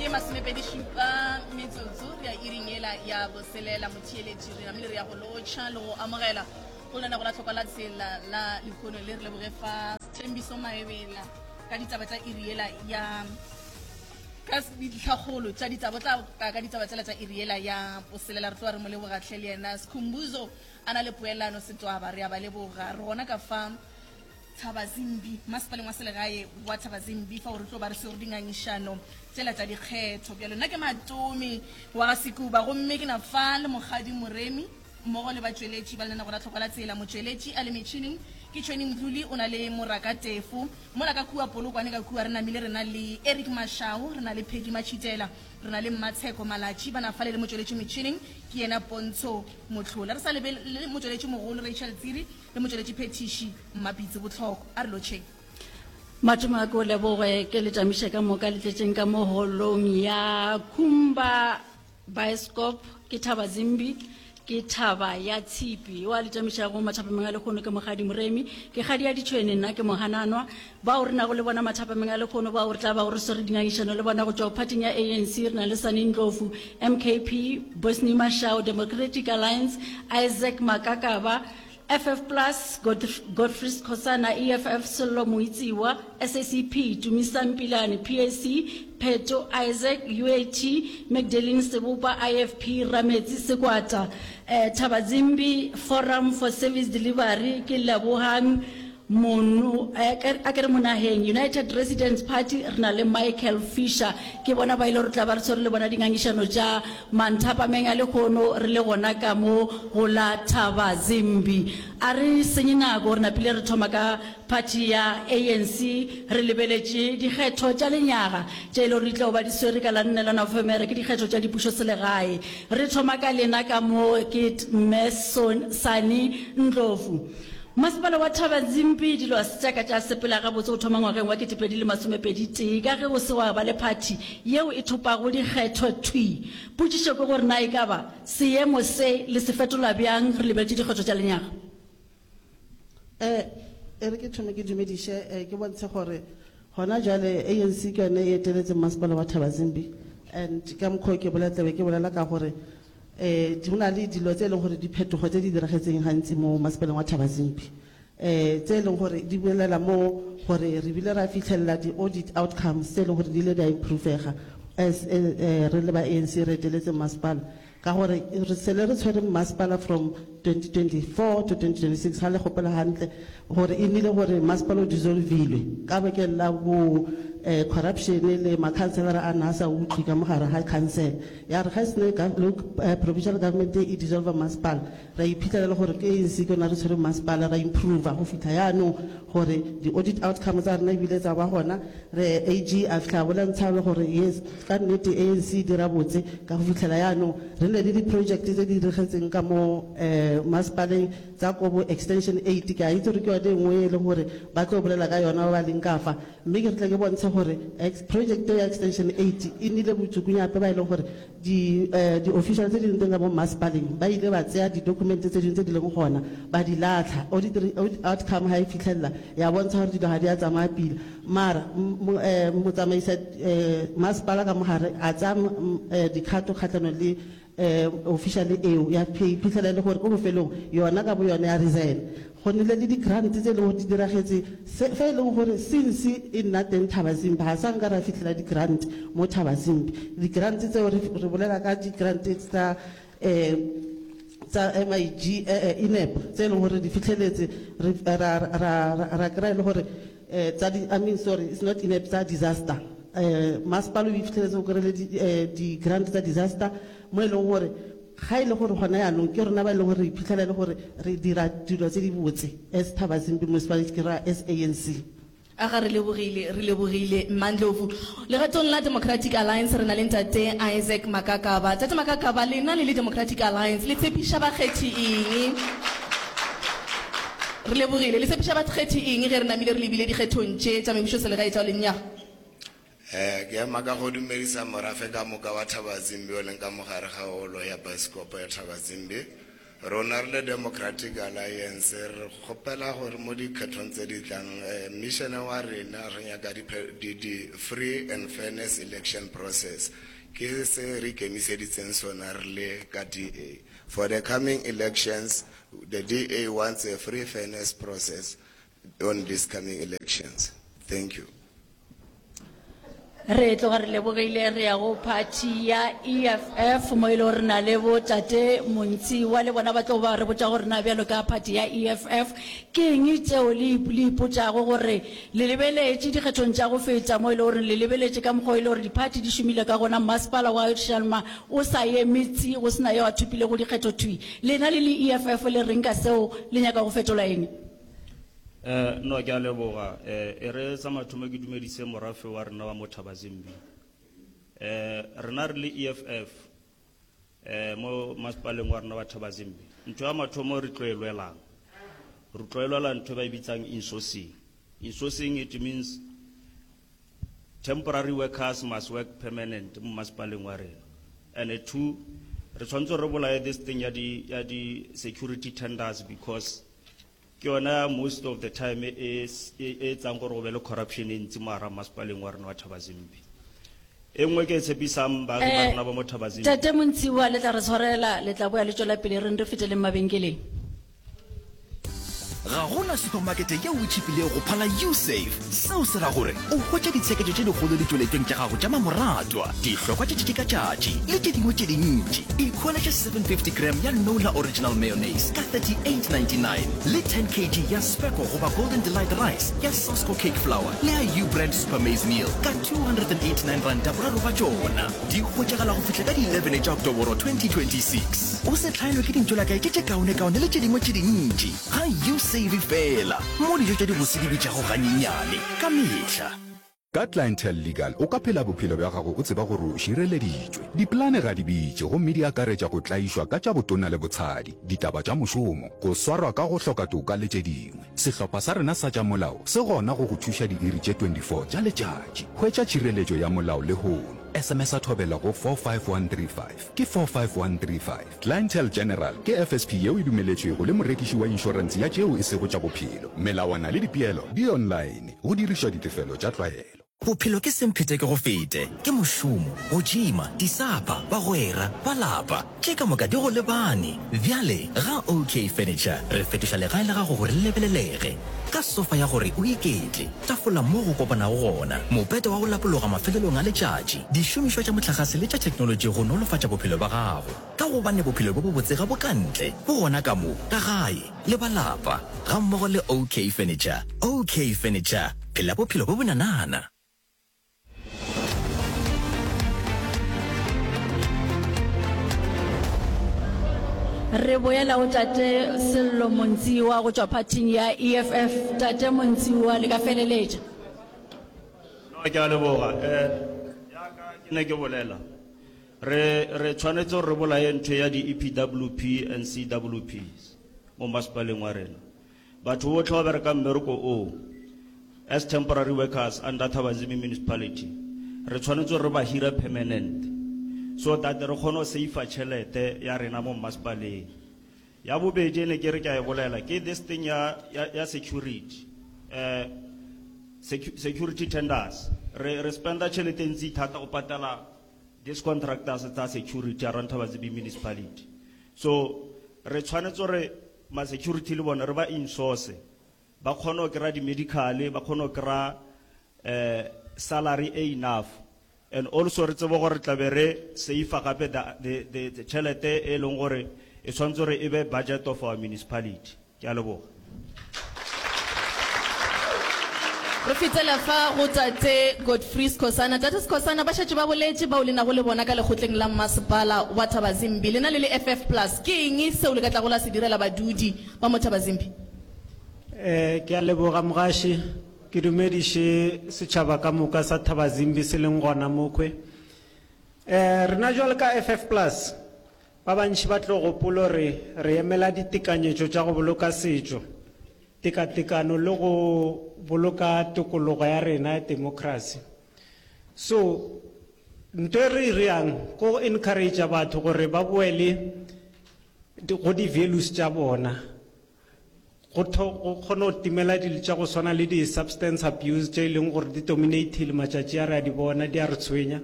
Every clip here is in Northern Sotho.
Ke masomepedišupa metsotso re ya iring yela ya boselela. Motheeletši re namile re ya go lotšha le go amogela go lenago la tlhokwa la tsela la lehono le re leboge fa Thembiso Maebela ka ditaba tša iri yela ya ka ditlhakgolo tša ditaba tla ka ka ditaba tšela tša iri yela ya boselela. Re tloga re mo leboga hle le yena Skhumbuzo a na le poelano Setwaba, re a ba leboga. Re gona ka fa Thabazimbi, masepaleng wa selegae wa Thabazimbi, fao re tlo ba re swere dingangišano tšela tša dikgetho. Bjalo nna ke Matome wa ga Sekuba gomme ke na fa le Mokgadi Moremi mmogo le batšweletši ba lenanego la Tlhokwa la Tsela. Motšweletši a le metšhining ke Tšhweni Mdluli, o na le Moraka Tefo. Mola ka kua Polokwane ka kua re namile re na le Eric Mashau, re na le Peggy Matšhitela, re na le Mmatsheko Malatši, ba na fale le motšweletši metšhining ke yena Pontsho Mohlola. Re sa lebelele motšweletši mogolo Rachel Tsiri le motšweletši phethiši Mmapitsi Botlhoko. A re lotšheng. Mathomo a ke o leboge ke le tamiše ka moka le tletšeng ka mo holong ya Khumba Bioscope ke Thaba Zimbi ke thaba ya tshipi wa le tamišago mathapameng a lekgono ke Mokgadi Moremi ke kgadi ya ditšhwene nna ke Mohananwa bao re nago le bona mathapameng a lekgono bao re tla bago re swere dingangišano le bona go tšwa phathing ya ANC re na le Sani Ndlovu MKP Bosni Mashao Democratic Alliance Isaac Makakaba FF Plus, Godfrey Skhosana, EFF, Sello Moitsiwa, SACP, Tumisang Pilane, PAC, Pheto Isaac, UAT, Magdalene Sebopa, IFP, Rametsi Sekwata, eh, Thabazimbi, Forum for Service Delivery, ke Lebohang Mono, eh, a ke re Monaheng, United Residents Party, re na le Michael Fisher. Ke bona ba ile re tla ba re tshwere le bona dingangišano tša manthapameng a lehono re le gona ka mo go la Thabazimbi. A re senye nako, re napile re thoma ka phathi ya ANC re lebeletše dikgetho tša lenyaga tše e le gore di tla ba di swere ka la nne la Nofemere, ke dikgetho tša dipušoselegae. Re thoma ka lena ka mo ke Mme Sani Ndlovu. Masepala wa Thabazimbi dilo ga se tša ka tša sepela gabotse go thoma ngwageng wa 2021 ka ge go se gwa ba le phathi yeo e thopago dikgetho thwi. Potšišo ke gore na ekaba seemo se le se fetola bjang re lebeletše dikgetho tša lenyaga? E, e re ke thome ke dumediše, e, ke bontshe gore gona jwale ANC ke yone e eteletseng masepala wa Thabazimbi and ka mokgwa o ke bolela tlabe ke bolela ka gore Um go na le dilo tse e leng gore diphetogo tse di diragetseng gantsi mo masepaleng wa Thabazimbi um tse e leng gore di bolela mo gore re bile ra fitlhelela di-audit outcomes tse e leng gore di ile di a improvega as re le ba ANC re eteletse masepala ka gore re sele re tshwere masepala from 2024 to 2026 ga le gopola hantle gore e nnile gore masepala o dissolvilwe ka bakeng la bo um corruption le makhanselara a na a sa utlwe ka mogare ga council. Ya re ga e sene provincial government e dissolva masepala, ra iphitlhela e le gore ke ANC ke yona re tshwere masepala, ra improva go fitlha yaanong gore di-audit outcome tsa rena ebile tsa ba gona. Re AG a fitlha a bolentsha le gore yes, ka nnete ANC e dira botse ka go fitlhela yaanong re nne le di-project tse di diragetseng ka mo masepaleng tsa ko bo extension eight. Ke a itse gore ke yone e nngwe e leng gore ba tlo bolela ka yona ba ba leng ka fa. Mme ke re tle ke bontshe gore project ya extension eight e nnile botsukunyape ba e leng gore di di-official tse di leng teng ka mo mmasepaleng ba ile ba tseya di-document tse dingwe tse di leng gona ba di latlha. Audit outcome ga e fitlhelela ya bontsha gore dilo ga di a tsamaya pila. Mara motsamaisa masepala ka mogare a tsaya dikgato kgatlhanong le Official eo ya iphitlhela e le gore ko bofelong yona ka bo yone ya resign. Go nnile le di-grant tse e leng gore di diragetse se fa e leng gore since e nna teng Thabazimbi ga sa nka ra fitlhela di-grant mo Thabazimbi. Di-grant tseo re re bolela ka di-grant tsa tsa MIG INEP tse e leng gore di fitlheletse re ra ra ra kry-a e le gore tsa di, I mean sorry it's not INEP tsa disaster. Masepala o ifitlheletse o kry-ile di grant tsa disaster mo e leng gore ga e le gore gona jaanong ke rona ba e leng gore re iphitlhela e le gore re dira dilo tse di botse as Thabazimbi Municipality ke raya as ANC. A ga re lebogile, re lebogile Mma Ndlovu. Legatong la Democratic Alliance re na le Ntate Isaac Makakaba. Tate Makakaba, lena le le Democratic Alliance le tshepiša bakgethi eng? Re lebogile. Le tshepiša bakgethi eng ge re namile re lebile dikgethong tše tša mebušoselegae tša lenyaga? Ke ema ka go dumedisa morafe ka moka wa Thabazimbi o leng ka mo gare ga holo ya baesekopo ya Thabazimbi. Rona re le Democratic Alliance re kgopela gore mo dikgethong tse di tlang eh, mission wa rena re nyaka di, di, di free and fairness election process. Ke se re ikemiseditseng sona re le ka DA. For the coming elections, the DA wants a free fairness process on these coming elections. Thank you. Re tloga re lebogile re ya go phathi ya EFF mo e le gore re na le bo tate Montshiwa le bona ba tlo ba re botša gore na bjalo ka phathi ya EFF ke eng tšeo le le ipotšago gore le lebeletše dikgethong tša go feta mo e le gore le lebeletše ka mokgwa o e le gore diphathi di šomile ka gona masepala wa Shalma o sa eme tsi go se na yo a thopilego dikgetho thwi. Lena le le EFF le reng ka seo le nyaka go fetola eng? Eh, no, ke a leboga. Eh, e re sa mathomo ke dumedise morafe wa rena wa mo Thabazimbi. Eh, rena re le EFF eh mo masepaleng wa rena wa Thabazimbi. Ntho ya mathomo re tlo e lwelang. Re tlo e lwela ntho e ba e bitsang insourcing. Insourcing it means Temporary workers must work permanent mo masepaleng wa rena. And two, re tshwanetse re bolaye this thing ya di, ya di security tenders because ke yona most of the time e e e etsang gore go be le corruption e ntsi mo hara masepaleng wa rena wa Thabazimbi. E nngwe ke e tshepisang baagi ba rena ba mo Thabazimbi. Tate Montshiwa le tla re tshwarela, le tla boya le tšwela pele reng re feteleng mabenkeleng. Ga go na supamakete yeo e tšhipilego go phala Usave. Seo se ra gore o hwetša ditsheketšo tše dikgolo ditšweletšong tša gago tša mamoratwa, dihlokwa tša tšatši ka tšatši le tše dingwe tše dintši. Ikhweletše 750 gram ya Nola Original Mayonnaise ka 38.99 le 10 kg ya Specco goba Golden Delight Rice ya Sasko Cake Flour le ya U-Brand Super Maize Meal ka R289 boraro ba tšona. Di hwetšagala go fihla ka di 11 tša Oktoboro 2026. O se hlaelwe ke dintšolakae tše tše kaonekaone le tše dingwe tše dintši ga U-Save feela, mo dijo tša dibose di bitšago ganyenyane ka mehla. Ka Clientele Legal o ka phela bophelo bja gago o tseba gore o šireleditšwe. Dipolane ga di bitše gomme di akaretša go tlaišwa ka tša botona le botshadi, ditaba tša mošomo, go swarwa ka go hloka toka le tše dingwe. Sehlopha sa rena sa tša molao se gona go go thuša diiri tše 24 tša letšatši. Hwetša tšhireletšo ya molao lehono. SMS-a Thobela go 45135. Ke 45135. Clientele General ke FSP yeo e dumeletšwego le morekiši wa inšorense ya tšeo e sego tša bophelo. Melawana le dipeelo di online, go dirišwa ditefelo tša tlwaelo. Bophelo ke semphete ke go fete, ke mošomo, go tšima, disapa, bagwera, ba lapa, tše ka moka di go lebane. Bjale ga OK Furniture re fetoša legae la gago gore le lebelelege. Ka sofa ya gore o iketle, tafola mo go kopanago gona, mopete wa go lapologa mafelelong a letšatši, dišomišwa tša mohlagase le tša theknolotši go nolofatša bophelo bja gago. Ka gobane bophelo bjo bobotse ga bo ka ntle, bo gona ka mo, ka gae. Le ba lapa, gammogo le OK Furniture. OK Furniture, phela bophelo bo bonanana. Re boela go Tate Sello Montshiwa go tšwa phathing ya EFF. Tate Montshiwa, le ka feleletša. No, ke a leboga. Eh, yaka ke ne ke bolela. Re, re tshwanetse gore re bolaye ntho ya di-EPWP and CWPs mo masepaleng wa rena. Batho botlhe ba berekang mmereko oo as temporary workers under Thabazimbi Municipality, re tshwanetse gore re ba hire permanent so that re kgone go save-a tšhelete ya rena mo masepaleng. Ya bobedi e ne ke re ke a e bolela ke this thing ya, ya, ya security. Eh, secu security tenders. Re, re spenda tšhelete e ntsi thata go patela these contractors tsa security around Thabazimbi municipality. So re tshwanetse gore ma security le bone re ba insource ba kgone go kry-a di-medical ba kgone go kry-a eh, salary e enough and also re tsebe gore tlabe re safe gape the, the, the tšhelete e leng gore e tshwanetse gore e be budget of our municipality. Ke a leboga. Re fetela fa go Tate Godfrey Skhosana. Tate Skhosana, ba šetše ba boletše bao le nago le bona ka lekgotleng la mmasepala wa Thabazimbi. Lena le le FF Plus, ke eng seo le ka tlago la se direla badudi ba mo Thabazimbi? Eh, ke a leboga mogaši. Ke dumediše setšhaba ka moka sa Thabazimbi se leng gona mokhwe. Eh, rena jwalo ka FF Plus, Ba bantši ba tlo gopola gore re emela ditekanyetšo tša go boloka setšo, tekatekano le go boloka tokologo ya rena ya temokrasi. So, nto e re e reang ke go encourage batho gore ba boele. go di-values tša bona. Go tho, go kgone go timela dilo tša go swana le di-substance abuse tše e leng gore di dominatile matšatši a re a di bona, di a re tshwenya.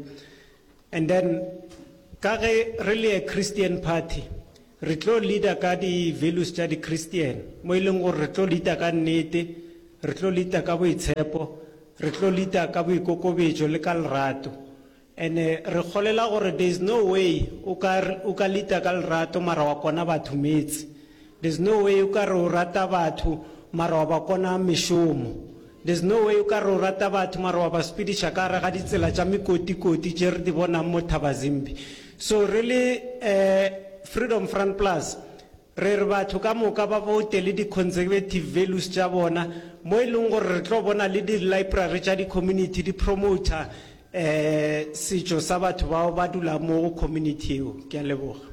And then ka ge re le a Christian party, re tlo leader ka di-values tša di-Christian, mo e leng gore re tlo leader ka nnete, re tlo leader ka boitshepo, re tlo leader ka boikokobetšo le ka lerato. And-e re kgolela gore there is no way o ka o ka leader ka lerato mara wa kona batho meetse. There's no way o ka re o rata batho mara wa ba kona mešomo. There's no way o ka re o rata batho mara wa ba sepediša ka gare ga ditsela tša mekotikoti tše re di bonang mo Thabazimbi. So re le eh Freedom Front Plus re re batho ka moka ba vote le di conservative values tša bona mo e leng gore re tlo bona le di library tša di community di promoter eh setšo sa batho bao ba dulang mo go community eo. Ke a leboga.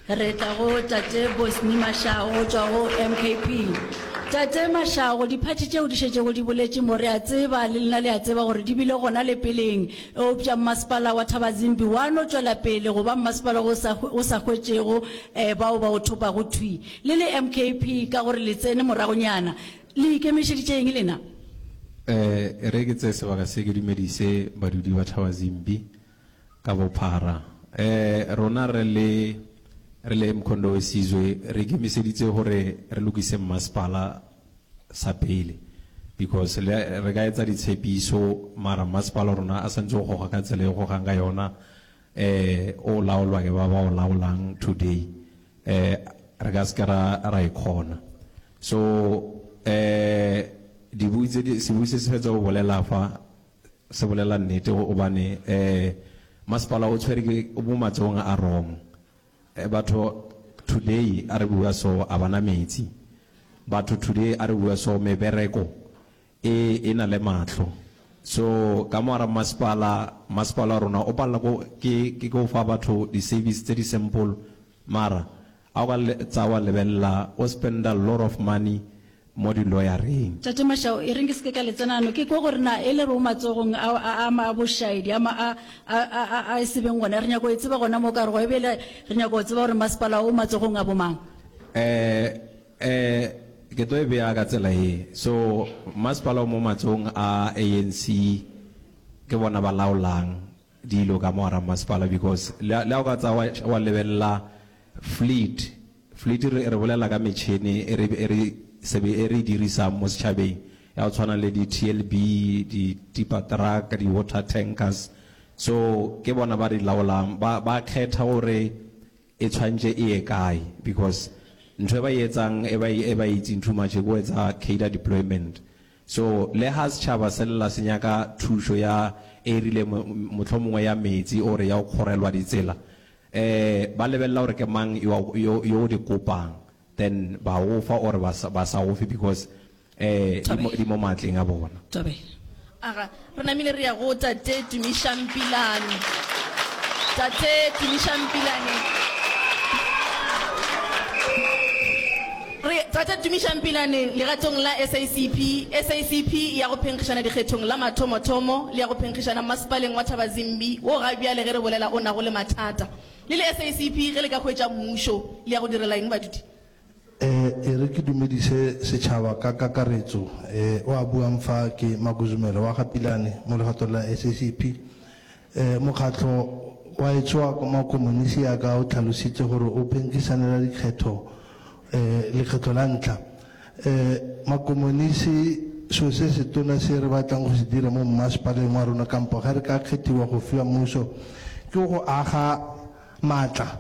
Re tla go Tate Bosny Mashago go tšwa go MKP. Tate Mashago, diphathi tšeo di šetšego di boletše mo, re a tseba, le lena le a tseba gore di bile gona le peleng, eupša mmasepala wa Thabazimbi wa no tšwela pele go ba mmasepala o sa, o sa hwetšego eh, bao ba o thopago thwi. Le le MKP, ka gore le tsene moragonyana, Le ikemišeditše eng lena? E re ke tseye sebaka se ke dumedise badudi ba Thabazimbi ka bophara. Rona re le re le Mkhonto we Sizwe re ikemiseditse gore re lokise mmasepala sa pele because le re ka etsa ditshepiso mara mmasepala wa rona a santse o goga ka tsela e o gogang ka yona o laolwa ke ba ba o laolang today re ka se ke ra ra e kgona. So eh dibui tse di sebui se se fetsa go bolela fa se bolela nnete gobane eh masepala o tshwere ke o mo matsogong a wrong. Eh, batho today a re bua so a bana metsi. Batho today a re bua so mebereko e e na le mahlo. So ka mo gara masepala masepala wa rona o palela ko ke ke go fa batho di service tse di simple mara A o ka tsa wa lebelela o spenda lot of money mo di lawyer-eng. Tate Mashao, e reng ke se ke ka le tsena ano, ke kwa gore na e le re o matsogong a, a, a, a bošaedi, a, a, a, a, a, a e se beng gona. Re nyaka go e tseba gona mo ka re go ebele re nyaka go tseba gore masepala o matsogong a bomang. Eh, eh, ke tlo e bea ka tsela ye. So, masepala o mo matsogong a ANC, ke bona ba laolang dilo ka mo gara masepala because le, le ha o ka tsa wa, wa lebelela Fleet, Fleet re, re bolela ka metšhene e re, e re sebe, e re e dirisang mo setšhabeng ya go tshwana le di-T_L_B, di-tipper truck, di-water tankers. So ke bona ba di laolang, ba, ba kgetha gore e tshwantše e ye kae because ntho e ba e etsang e ba e, e ba e itseng too much ke go etsa cadre deployment. So le ha setšhaba se lla se nyaka thušo ya e rileng, mohlomongwe ya metsi or ya go kgorelwa ditsela, Eh, ba lebelela gore ke mang yo, yo, yo o di kopang, then ba go fa or ba sa, ba sa go fe because eh, di mo, di mo maatleng a bona. Thobela. Aga, re namile re ya go Tate Tumišang Pilane. Tate Tumišang Pilane. Re, Tate Tumišang Pilane, legatong la SACP, SACP e ya go phenkgišana dikgethong la mathomothomo le ya go phenkgišana mmasepaleng wa Thabazimbi wo ga bjale ge re bolela o nago le mathata. Le le SACP ge le ka hwetša mmušo le ya go direla eng badudi? E re ke dumedise setšhaba ka kakaretso. O a buang fa ke Makuzumele wa ga Pilane mo legatong la SACP. Mokgatlo wa etsho wa makomonisi yaka o tlhalositse gore o phenkgisanela dikgetho lekgetlo la ntlha. Makomonisi selo se setona se re batlang go se dira mo mmasepaleng wa rona kampo ge re ka kgethiwa go fiwa mmuso ke go aga maatla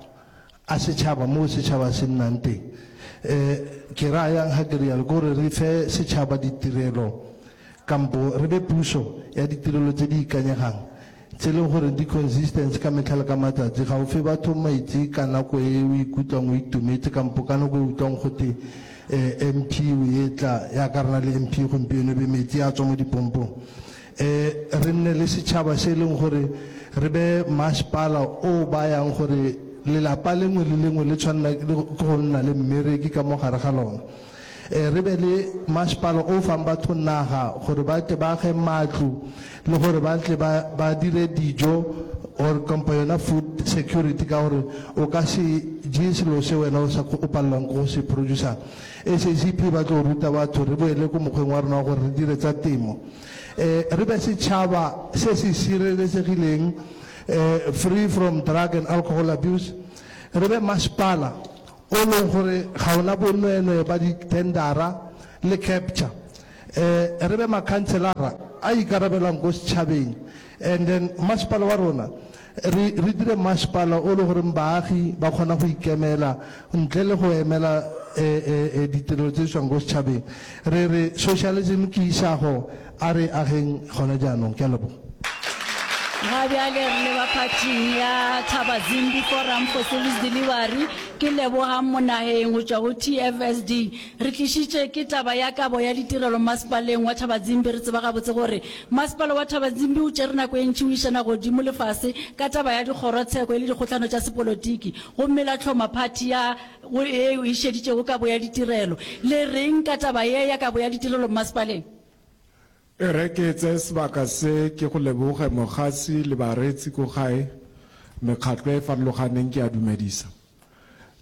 a setšhaba moo setšhaba se nnang teng. Ke raya yang ga ke rialo? Ke gore re fe setšhaba ditirelo kampo re be puso ya ditirelo tse di ikanyegang, tse e leng gore di consistent ka metlha le ka matsatsi. Ga o fe batho metsi ka nako e o ikutlwang o itumetse kampo ka nako e o utlwang gote MP o etla, yaka re na le MP gompieno e be metsi a tswa mo dipompong. Re nne le setšhaba se e leng gore re be masepala o bayang gore lelapa lengwe le lengwe le tshwanela ke go nna le mmereki ka mo gare ga lona. Re be le masepala o fang batho naga gore ba tle ba age matlo le gore ba tle ba dire dijo. or kampa yona food security ka gore o ka se je selo se wena o sa o palelwang ke go se producer. SACP ba tlo ruta batho re boele ko mokgweng wa rena wa gore re dire tsa temo. Eh re be setšhaba se se sireletsegileng eh free from drug and alcohol abuse. Re be masepala o leng gore ga ona bonweenwee ba di-tendera le capture. Eh re be makhanselara a ikarabelang ko setšhabeng and then masepala wa rona re re dire masepala o le goreng baagi ba kgona go ikemela ntle le go emela eh eh eh ditirelo tse di tswang ko setšhabeng. Re re socialism ke isago a re ageng gona jaanong. Ke a leboga. Ga bjale re leba phathing ya Thabazimbi Forum for Service Delivery. Ke Lebogang Monaheng go tšwa go TFSD. Re tlišitše ke taba ya kabo ya ditirelo masepaleng wa Thabazimbi. Re tseba gabotse gore masepala wa Thabazimbi o tšere nako e ntši o išana godimo le fase ka taba ya dikgorotsheko e le dikgohlano tša sepolotiki gomme la hloma phathi ya go ye e šeditšego kabo ya ditirelo. Le reng ka taba ye ya kabo ya ditirelo mmasepaleng? E re ke tseye sebaka se ke go leboge mogasi le bareetsi ko gae, mekgatlo e farologaneng ke a dumedisa.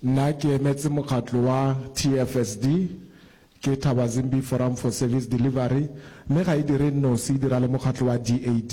Nna ke emetse mokgatlo wa TFSD, ke Thabazimbi Forum for Service Delivery, mme ga e dire nnosi e dira le mokgatlo wa DAD.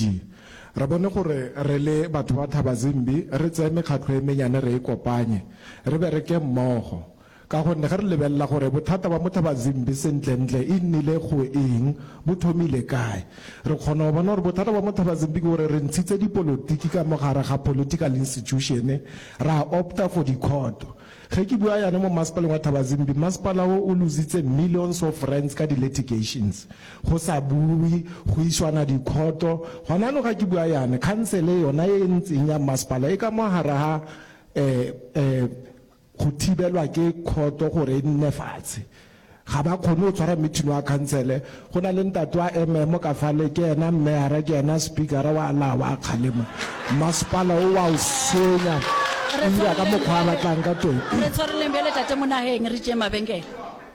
Re bone gore re le batho ba Thabazimbi re tseye mekgatlo e menyane re e kopanye, re bereke mmogo. Ka gonne ge re lebelela gore bothata ba Mothabazimbi sentlentle e nnile go eng, bo thomile kae, re kgona go bona gore bothata ba Mothabazimbi ke gore re ntshitse dipolotiki ka mo gare ga political institution, ra opta for dikhoto. Ge ke bua yana mo masepaleng wa Thabazimbi, masepala wo o lositse millions of rands ka di-litigations, go sa buwe, go iswana dikhoto. Gona anong ga ke bua yana, khansele yona e e ntseng ya masepala e ka mo gare ga um Go thibelwa ke khoto gore e nne fatshe. Ga ba kgone go tshwara meeting wa khansele. Go na le ntate wa MM ka fale, ke yena meyara, ke yena speakera, wa laa wa kgalema. Masepala o wa o senya, o dira ka mokgwa a batlang ka teng. Re tshwareleng bjale Tate Monaheng, re tšeeng mabenkele.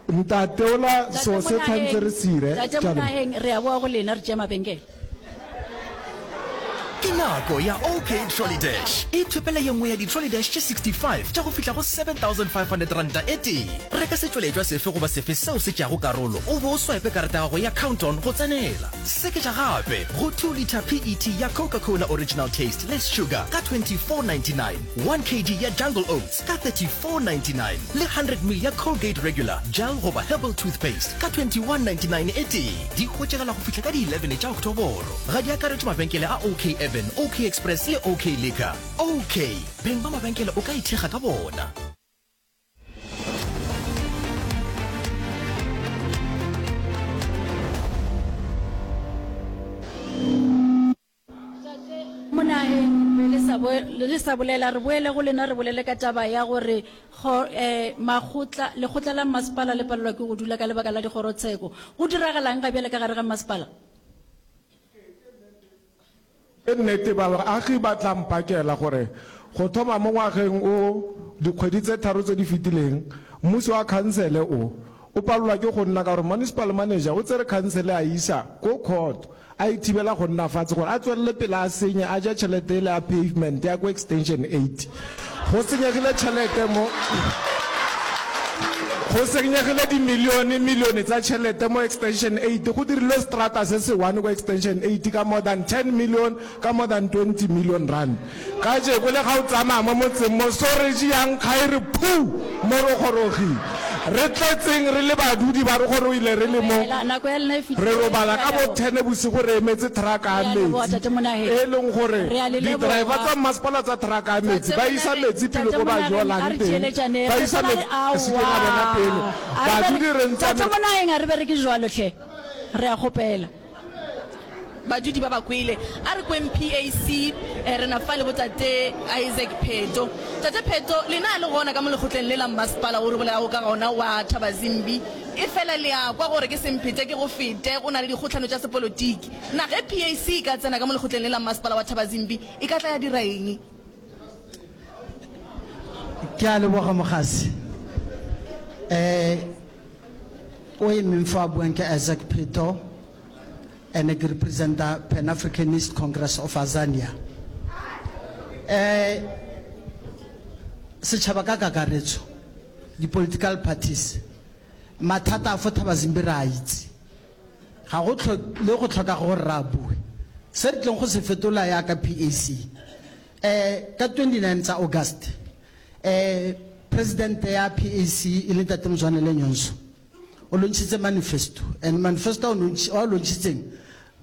Ntate ola so se tshwantse re se ire. Tate Monaheng, re a boa go lena, re tšee mabenkele. Ke nako ya OK Trolley Dash. Ithopele ye nngwe ya di-trolley dash tše 65 tša go fihla go R7500 e tee. Reka setšweletšwa sefe goba sefe seo se tšeago karolo o be o swipe karata ya gago ya Count-On go tsenela. Seketša gape go 2 litre PET ya Coca-Cola Original Taste Less Sugar ka 24.99, 1 kg ya Jungle Oats ka 34.99 le 100 ml ya Colgate Regular, Gel goba Herbal Toothpaste ka 21.99 e tee. Di hwetšagala go fihla ka di 11 tša Oktoboro. Ga di akaretšwe mabenkele a OK Urban, OK Express le OK Liquor. OK, beng ba mabenkele o ka ithekga ka bona. Monaheng be le sa bo, le sa bolela, re boele go lena re bolele ka taba ya gore kgo, eh, makgotla, lekgotla la mmasepala le palelwa ke go dula ka lebaka la dikgorotsheko. Go diragalang ga bjale ka gare ga mmasepala? Ke nnete, baagi ba tla mpakela gore go thoma mo ngwageng o dikgwedi tse tharo tse di fetileng, mmuso wa khansele o o palelwa ke go nna ka gore municipal manager o tsere khansele a e isa ko court a e thibela go nna fatshe gore a tswelele pele a senye a ja tšhelete ele ya pavement ya ko extension 8. Go senyegile tšhelete mo Go senyegile dimilione milione tsa tšhelete mo extension 8 go dirilwe seterata se se one ko extension 8 ka more than 10 million ka more than 20 million rand. Kajeko le ga o tsamaya mo motseng mo soreji ya nkga e re phuu mo re gorogile. Re tletseng re le badudi ba re gorogile re le mo. Fela, nako ya lena e fihlile. Re robala Re a ka bo leboga. ten bosigo re emetse truck ya Re a leboga, metsi Tate Monaheng. e leng gore Re a le di-driver leboga. tsa mmasepala tsa truck ya metsi Tate ba isa Monaheng, metsi pele Tate ko ba Monaheng, a jolang re teng. theeletšaneng. Ba Re isa swana le metsi re se ke ra bona aowa. pele. A re Badudi bere, re ntse Tate re. Monaheng, a re bereke jwalo hle. Re a kgopela. Badudi ba ba kwele. A re kweng PAC, re na fa le botate Isaac Pheto. Tate Pheto, lena le gona ka mo lekgotleng le la mmasepala wo re bolelago ka gona wa Thabazimbi, efela le a kwa gore ke semphete ke go fete, go na le dikgohlano tša sepolotiki. Na ge PAC e ka tsena ka mo lekgotleng le la mmasepala wa Thabazimbi, e ka tla ya dira eng? Ke a leboga mogasi. Eh, o emeng fa a buang ke Isaac Pheto. Ene ke representa Pan Africanist Congress of Azania. Eh setšhaba ka kakaretso, di-political parties, mathata a fo Thabazimbi re a itse. Ga go le go tlhoka gore re a bue. Se re tleng go se fetola yaka PAC, eh ka 29 tsa August, eh President ya PAC e le Ntate Mzwanele Nyonso, o launchitse manifesto and manifesto a o launchitseng